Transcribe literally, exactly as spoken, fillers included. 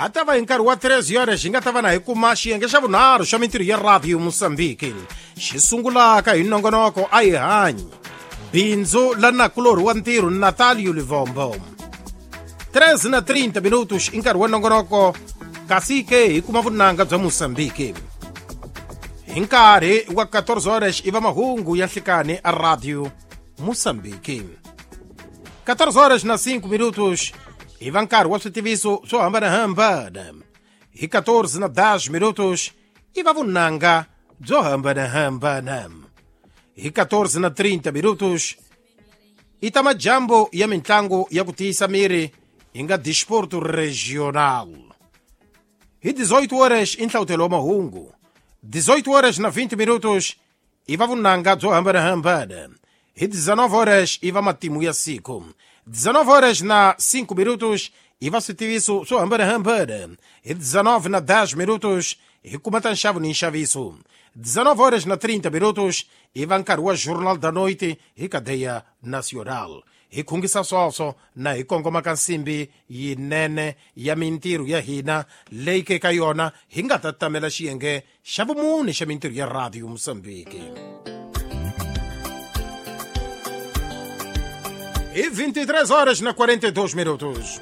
Ha ta va hi nkarhi wa treze horas hi nga ta va na hi kuma xiyenge xa vunharhu xa mintirho ya Radio Moçambique xi sungulaka hi nongonoko a hi hanyi bindzu la nakulorhi wa ntirho Natalio Livombo. treze na trinta minutos i nkarhi wa nongonoko kasi ke hi kuma vunanga bya Moçambique. Hi nkarhi wa quatorze horas i va mahungu ya nhlikani a Radio Moçambique. quatorze horas na cinco minutos i va nkarhi wa switiviso swo hambanahambana. Hi quatorze na dez minutos i va vunanga byo hambanahambana. Hi quatorze na trinta minutos i ta majambo ya mintlangu ya ku tiyisa miri hi nga Desporto Regional. Hi dezoito horas i nhlawutelo wa mahungu. dezoito horas na vinte minutos i va vunanga byo hambanahambana. Hi dezenove horas i va matimu ya siku. dezenove horas na cinco minutos i va switiviso swo hambanahambana. Hi dezenove na dez minutos hi kuma ta nxavo ni nxaviso. dezenove horas na trinta minutos i va nkarhi wa Jornal da Noite hi Cadeia Nacional. Hi khungisa swoswo na hi kongoma ka nsimbi yinene ya mintirho ya hina leyi ke ka yona hi nga ta tamela xiyenge xa vumune xa mintirho ya Radio Moçambique. Hi vinte e três horas na quarenta e dois minutos.